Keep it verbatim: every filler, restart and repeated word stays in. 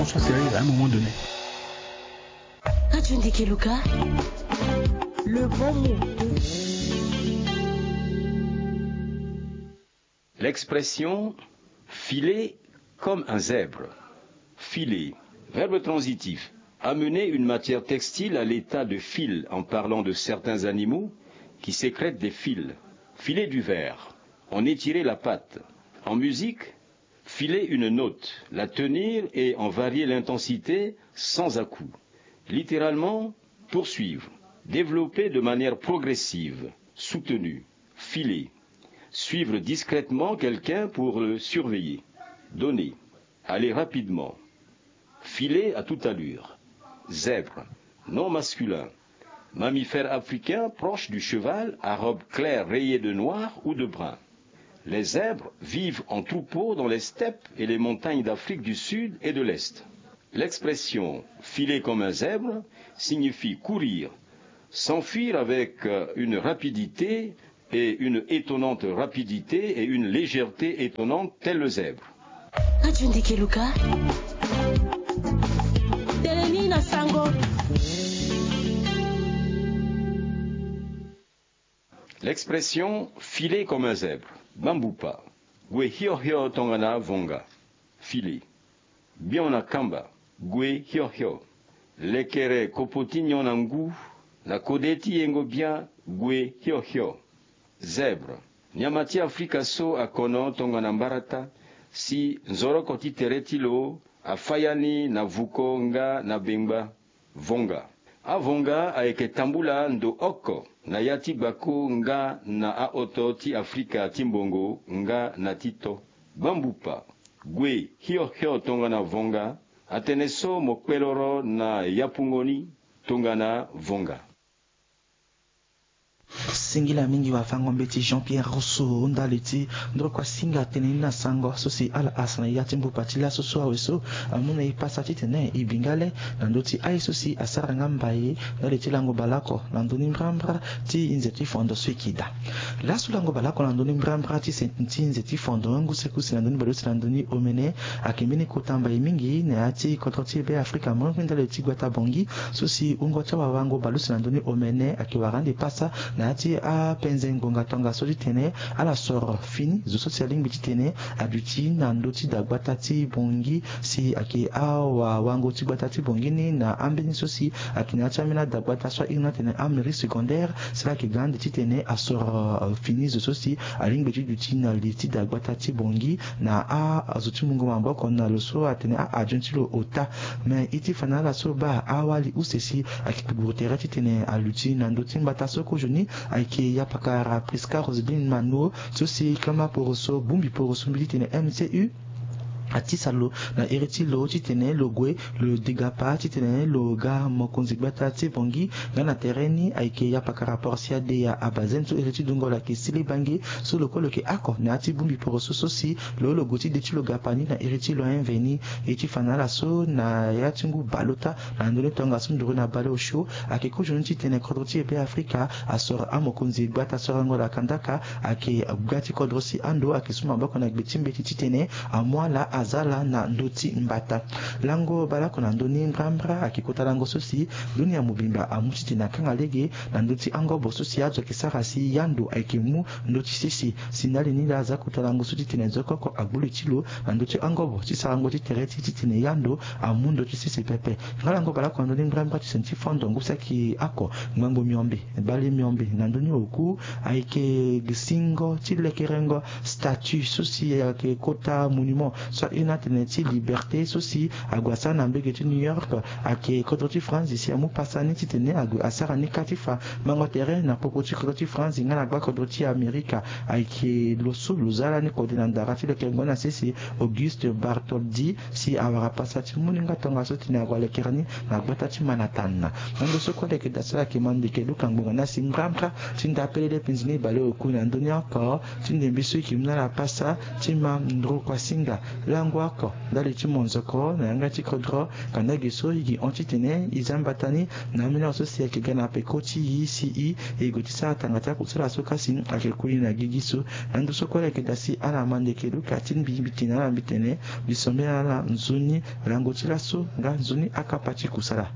Soit sérieux à un moment donné. Ka tu ndeke luka le bon mot. L'expression filer comme un zèbre. Filer. Verbe transitif. Amener une matière textile à l'état de fil en parlant de certains animaux qui sécrètent des fils. Filer du verre. En étirer la patte. En musique, filer une note, la tenir et en varier l'intensité sans à-coup. Littéralement, poursuivre, développer de manière progressive, soutenue, filer, suivre discrètement quelqu'un pour le surveiller, donner, aller rapidement, filer à toute allure, zèbre, nom masculin, mammifère africain proche du cheval à robe claire rayée de noir ou de brun. Les zèbres vivent en troupeau dans les steppes et les montagnes d'Afrique du Sud et de l'Est. L'expression filer comme un zèbre signifie courir, s'enfuir avec euh, une rapidité et une étonnante rapidité et une légèreté étonnante tel le zèbre. Ka tu ndeke luka tene ni na sango. L'expression filer comme un zèbre. Bambupa. Gue hiohio tongana vonga. Filer. Bion na kamba. Gue hiohio. Lekere kopo ti nyon na ngu. Na kode ti yengo bian. Gue hiohio. Zèbre. Nyama ti Afrika so akono tongana mbarata si nzoroko ti tere ti lo afa ya ni na vuko nga na bengba. Vonga. Avonga ayeke tambula ndo oko na ya ti gbako nga na ahoto ti Afrika ti mbongo nga na ti to. Bambupa. Gue hiohio tongana vonga. Atene so mo kpeloro na yapungo ni tongana vonga. Singila mingi wafango mbeti Jean Pierre Rousseau ndali ti ndroko asinga tene ni na sango so si ala asa na ya ti mbupa ti laso so awe so amu na e pasa titene e bi nga le na ndö ti aye so si asara nga mbai ndali ti lango balako na ndö ni mbrambra ti nze ti fondo so e ki daa. Laso lango balako na ndö ni mbrambra ti se ti nze ti fondo ngu sekusi na ndö ni baleuse na ndö ni omene ayeke mbeni kota mbai mingi na ya ti kodro ti e Be Afrika mo ndali ti gbata Bongi so si wungo ti awawango baleuse na ndö ni omene ayeke wara ande pasa na ya ti apenze ngonga tongaso titene ala soro fini zo so si alingbi titene aduti na ndö ti dagbata ti Bongi si ayeke awawango ti gbata ti Bongi ni na ambeni so si ayeke na ya ti ambeni adagbata so ahiri ni atene amairie secondaire si ala yeke ga ande titene asoro fini zo so si alingbi ti duti na li ti dagbata ti Bongi na azo ti mungo maboko na lo so atene a-adjoint ti lo ota. Me e ti fa na ala so baa awali use si ayeke guru tere titene aluti na ndö ti mbata so kozoni ayeke yapakara Prisca Roseline Mano so si kama poroso bongbi poroso mbi titene M C U atisa lo na iri ti lo titene lo gue lo degapa titene lo ga mokonzi gbata ti Bongi nga na tere ni ayeke yapakara poroso ya deya abazene so iri ti dungo lo ayeke sili bange so lo kue lo yeke oko na ya ti bongbi poroso so si lo lo gue ti de ti lo gapa ni na iri ti lo aye mveni. E ti fa na ala so na ya ti ngu baleota na ndö ni tongaso nduru na baleosio ayeke kozoni titene kodro ti e Be Afrika asoro amokonzi gbata sorango lakandaka ayeke ga ti kodro si ando ayeke su maboko na gbe ti mbeti titene amu ala aza ala na ndö ti mbata. Lango baleoko na ndö ni mbrambra ayeke kota lango so si dunia mobimba amu titene akanga lege na ndö ti angobo so si azo ayeke sara si yando ayeke mu ndö ti sese si ndali ni laa aza kota lango so titene zo oko oko agbu li ti lo na ndö ti angobo ti sarango ti tere ti titene yando amu ndö ti sese pepe. Nga lango baleoko na ndö ni mbrambra ti sene ti fondo ngu saki oko ngbangbo miombe bale miombe na ndö ni oku ayeke singo ti lekerengo statue so si ayeke kota monument so ahiri ni atene ti liberté so si ague asara na mbege ti New York ayeke kodro ti France si amu pasa ni titene ague asara ni ka ti fa mango tere na popo ti kodro ti France nga na gba kodro ti Amerika. Ayeke lo so lo za lani kode na ndara ti lekerengo ni na sese Auguste Bartholdi si awara pasa ti mu ni nga tongaso titene ague alekere ni na gbata ti Manhattan. Na ndo so kue ala yeke daa so ala yeke ma ndeke luka ngbonga ni asi mbrambra ti nda pelele penzi ni baleoku na ndö ni oko ti ndembe so e yeke mu na ala pasa ti ma nduru kuasinga. lango oko ndali ti monzoko na yanga ti kodro. Kanda ge so e gi hon titene e za mbata ni na ambeni awa so si ayeke ga na peko ti e si e e gue ti sara tanga ti akusala so kasi ayeke kuli na gigi so. Na ndo so kue ala yeke daa si ala ma ndeke luka ti mbi mbi tene ala mbi tene mbi sombela ala nzoni lango ti laso nga nzoni akapa ti kusala.